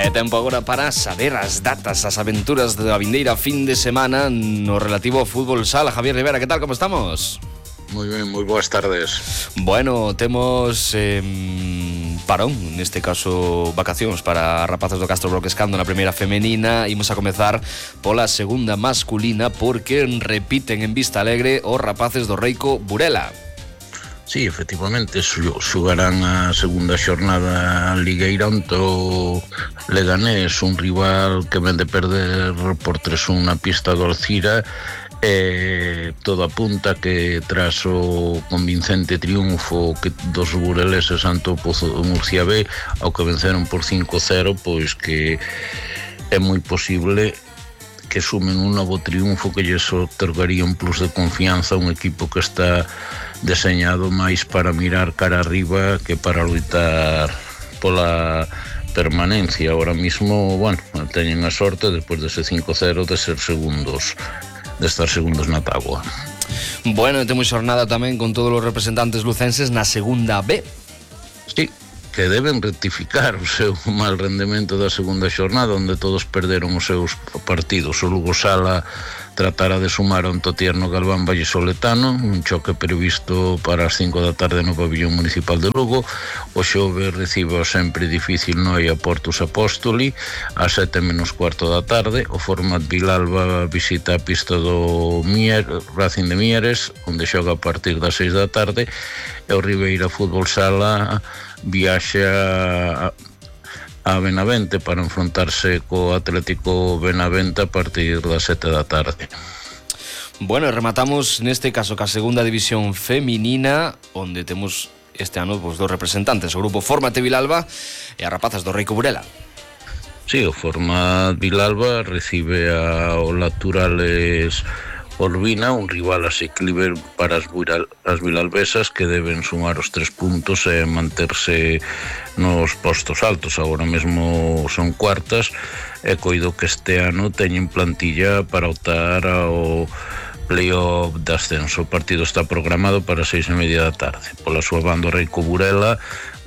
É tempo agora para saber as datas, as aventuras da vindeira fin de semana no relativo ao fútbol sala. Javier Rivera, que tal, como estamos? Moi ben, moi boas tardes. Bueno, temos parón, neste caso vacacións para rapazes do Castro Broquescando na primeira femenina. Imos a comezar pola segunda masculina porque repiten en Vista Alegre os rapaces do Reico Burela. Sí, efectivamente, xogarán a segunda xornada ligueira onde o Leganés, un rival que ven de perder por 3-1 na pista do Alcira. Todo apunta que tras o convincente triunfo dos bureleses ante o Pozo de Murcia B, ao que venceron por 5-0, pois que é moi posible que sumen un novo triunfo que lles otorgaría un plus de confianza a un equipo que está deseñado máis para mirar cara arriba que para luitar pola permanencia. Ahora mismo, bueno, teñen a sorte despois dese 5-0 de ser segundos, de estar segundos na táboa. Bueno, temos xornada tamén con todos os representantes lucenses na segunda B. Sí, que deben rectificar o seu mal rendemento da segunda xornada, onde todos perderon os seus partidos. O Lugo Sala tratará de sumar a un Totierno Galván Vallesoletano, un choque previsto para as 5 da tarde no pabillón municipal de Lugo. O Xove recibe o sempre difícil Noia Portus Apóstoli ás 7:15 da tarde. O Format Vilalba visita a pista do Racing de Mieres, onde xoga a partir das 6 da tarde, e o Ribeira Fútbol Sala viaxa a Benavente para enfrontarse co Atlético Benavente a partir das 7 da tarde. Bueno, rematamos neste caso ca segunda división feminina, onde temos este ano dos representantes, o grupo Fórmate Vilalba e as rapazas do Reico Burela. Sí, o Format Vilalba recibe o Naturales Olvina, un rival asequible para as vilalbesas que deben sumar os 3 puntos e manterse nos postos altos. Agora mesmo son cuartas e coido que este ano teñen plantilla para optar ao playoff de ascenso. O partido está programado para 6:30 da tarde. Pola súa banda, o Reico Burela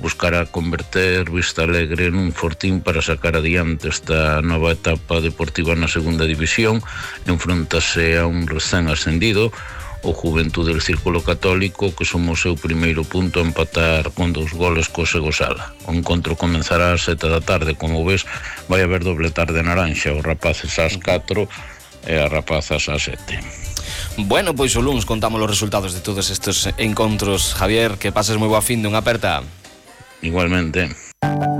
buscará converter Vista Alegre nun fortín para sacar adiante esta nova etapa deportiva na segunda división. Enfrontase a un recén ascendido, o Juventude del Círculo Católico, que sumou o seu primeiro punto a empatar con 2 goles co Segosala. O encontro comenzará ás 7 da tarde. Como ves, vai haber doble tarde naranja, os rapaces ás 4 e as rapazas ás 7. Bueno, pois o luns contamos os resultados de todos estes encontros. Javier, que pases moi boa fin, unha aperta. Igualmente.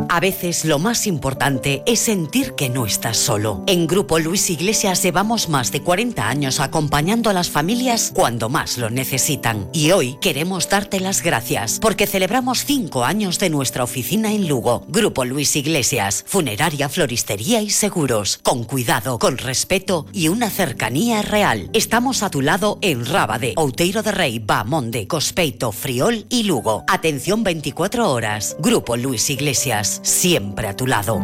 A veces lo más importante es sentir que no estás solo. En Grupo Luis Iglesias llevamos más de 40 años acompañando a las familias cuando más lo necesitan. Y hoy queremos darte las gracias porque celebramos 5 años de nuestra oficina en Lugo. Grupo Luis Iglesias, funeraria, floristería y seguros. Con cuidado, con respeto y una cercanía real. Estamos a tu lado en Rábade, Outeiro de Rei, Bamonde, Cospeito, Friol y Lugo. Atención 24 horas. Grupo Luis Iglesias, siempre a tu lado.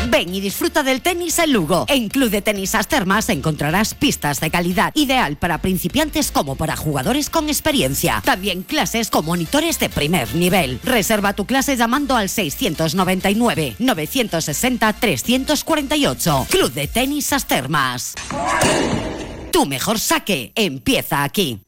Ven y disfruta del tenis en Lugo. En Club de Tenis As Termas encontrarás pistas de calidad, ideal para principiantes como para jugadores con experiencia. También clases con monitores de primer nivel. Reserva tu clase llamando al 699 960 348. Club de Tenis As Termas. Tu mejor saque empieza aquí.